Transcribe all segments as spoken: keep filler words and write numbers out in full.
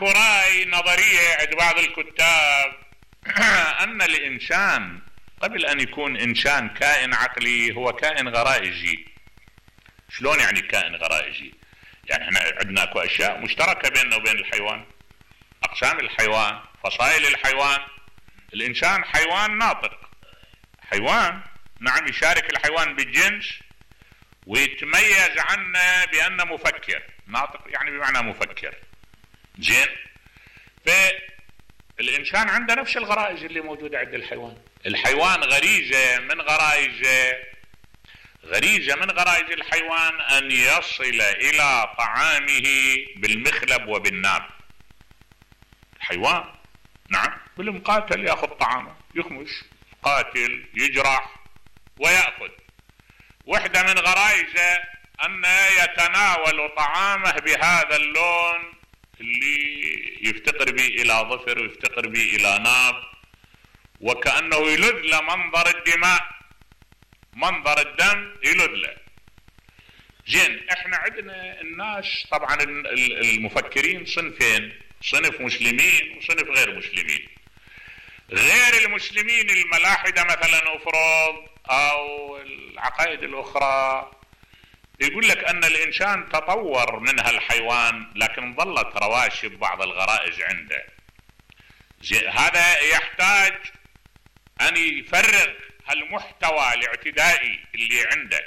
اكو رأي نظرية عند بعض الكتاب ان الانسان قبل ان يكون انسان كائن عقلي هو كائن غرائزي. شلون يعني كائن غرائزي؟ يعني احنا عندنا اكو اشياء مشتركة بيننا وبين الحيوان، اقسام الحيوان، فصائل الحيوان. الانسان حيوان ناطق، حيوان نعم يشارك الحيوان بالجنس ويتميز عنه بانه مفكر. ناطق يعني بمعنى مفكر. زين، فالانسان عنده نفس الغرائز اللي موجودة عند الحيوان. الحيوان غريزة من غرائزه غريزة من غرائز الحيوان ان يصل الى طعامه بالمخلب وبالناب. الحيوان نعم بالمقاتل ياخذ طعامه، يخمش، قاتل، يجرح ويأخذ. وحدة من غرائزه أن يتناول طعامه بهذا اللون اللي يفتقر به إلى ظفر ويفتقر به إلى ناب، وكأنه يلذ له منظر الدماء، منظر الدم يلذ له. زين، احنا عندنا الناس طبعا المفكرين صنفين، صنف مسلمين وصنف غير مسلمين. غير المسلمين الملاحدة مثلا افرض او العقائد الاخرى يقول لك ان الانسان تطور منها الحيوان لكن ظلت رواشب بعض الغرائز عنده. هذا يحتاج ان يفرغ هالمحتوى الاعتدائي اللي عنده،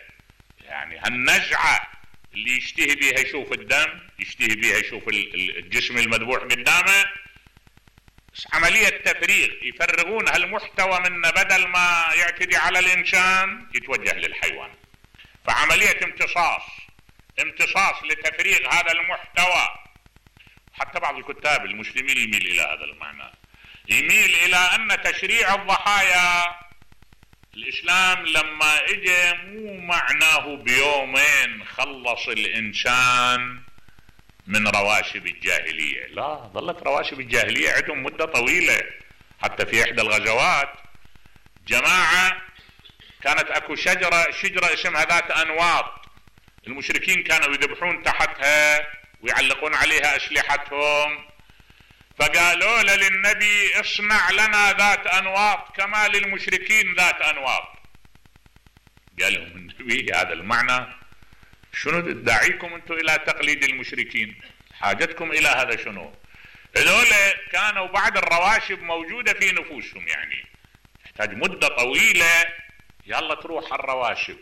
يعني هالنزعة اللي يشتهي بيها يشوف الدم، يشتهي بيها يشوف الجسم المذبوح قدامه. عملية تفريغ، يفرغون هالمحتوى منه بدل ما يعتدي على الإنسان يتوجه للحيوان. فعملية امتصاص امتصاص لتفريغ هذا المحتوى. حتى بعض الكتاب المسلمين يميل إلى هذا المعنى، يميل إلى أن تشريع الضحايا الإسلام لما إجا مو معناه بيومين خلص الإنسان من رواشب الجاهلية، لا، ظلت رواشب الجاهلية عندهم مدة طويلة. حتى في إحدى الغزوات جماعة كانت أكو شجرة شجرة اسمها ذات أنواط، المشركين كانوا يذبحون تحتها ويعلقون عليها أسلحتهم، فقالوا للنبي اصنع لنا ذات أنواط كما للمشركين ذات أنواط. قال لهم النبي هذا المعنى شنو داعيكم انتم الى تقليد المشركين؟ حاجتكم الى هذا شنو؟ هذول كانوا بعد الرواشب موجودة في نفوسهم، يعني يحتاج مدة طويلة يلا تروح الرواشب.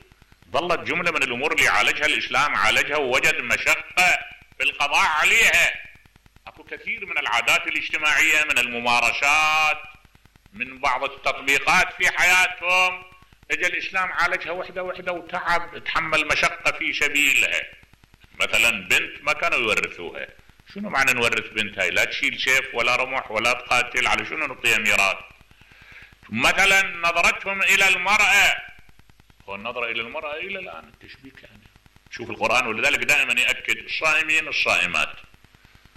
ظلت جملة من الامور اللي عالجها الاسلام، عالجها ووجد مشقة في القضاء عليها. اكو كثير من العادات الاجتماعية، من الممارسات، من بعض التطبيقات في حياتهم اجى الاسلام عالجها وحده وحده وتعب، تحمل مشقة في سبيلها. مثلا بنت ما كانوا يورثوها، شنو معنى نورث بنت هاي؟ لا تشيل سيف ولا رمح ولا تقاتل، على شنو نعطيها ميراث؟ مثلا نظرتهم الى المرأة، والنظرة الى المرأة الى الان التشبيك يعني شوف القرآن، ولذلك دائما يأكد الصائمين الصائمات،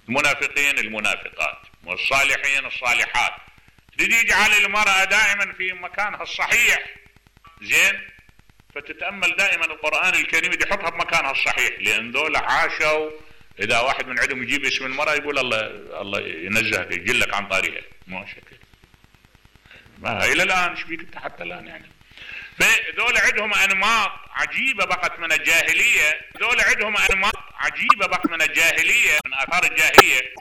المنافقين المنافقات، والصالحين الصالحات، يجعل المرأة دائما في مكانها الصحيح. زين، فتتأمل دائما القرآن الكريم يحطها بمكانها الصحيح، لأن دول عاشوا. إذا واحد من عندهم يجيب اسم المرأة يقول الله الله ينزهك يجلك عن طريقه، ما شكل ما إلى الآن ايش بيك انت حتى الآن يعني. فدول عندهم أنماط عجيبة بقت من الجاهلية، دول عندهم أنماط عجيبة بقت من الجاهلية، من آثار الجاهلية.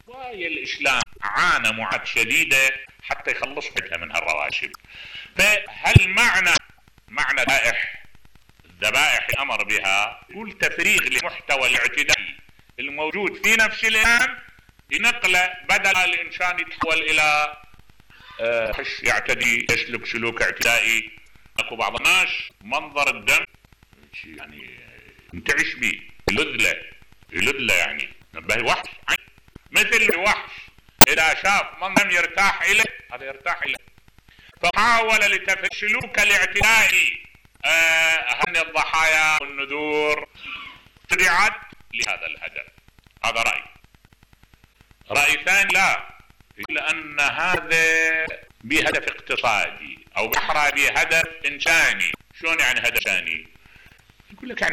ويا الإسلام عانى معاناة شديدة حتى يخلص بها من هالرواشب. فهل معنى معنى ذبائح الذبائح الأمر بها يقول تفريغ لمحتوى الاعتدائي الموجود في نفس الإنسان، ينقله بدل الإنسان يتحول إلى آه يعتدي، يسلك سلوك اعتدائي. اكو بعض الناس منظر الدم يعني ينتعش به، يلذ له يلذ له يعني نبه وحش، مثل الوحش إذا شاف منظر يرتاح إليه هذا يرتاح إليه. فحاول لتفريغ سلوك الاعتدائي هن آه الضحايا والنذور تبعت لهذا الهدف. هذا رأي. رأي ثاني لا، لأن هذا بهدف اقتصادي أو بحرى بهدف إنساني. شلون يعني هدف إنساني؟ يقول لك يعني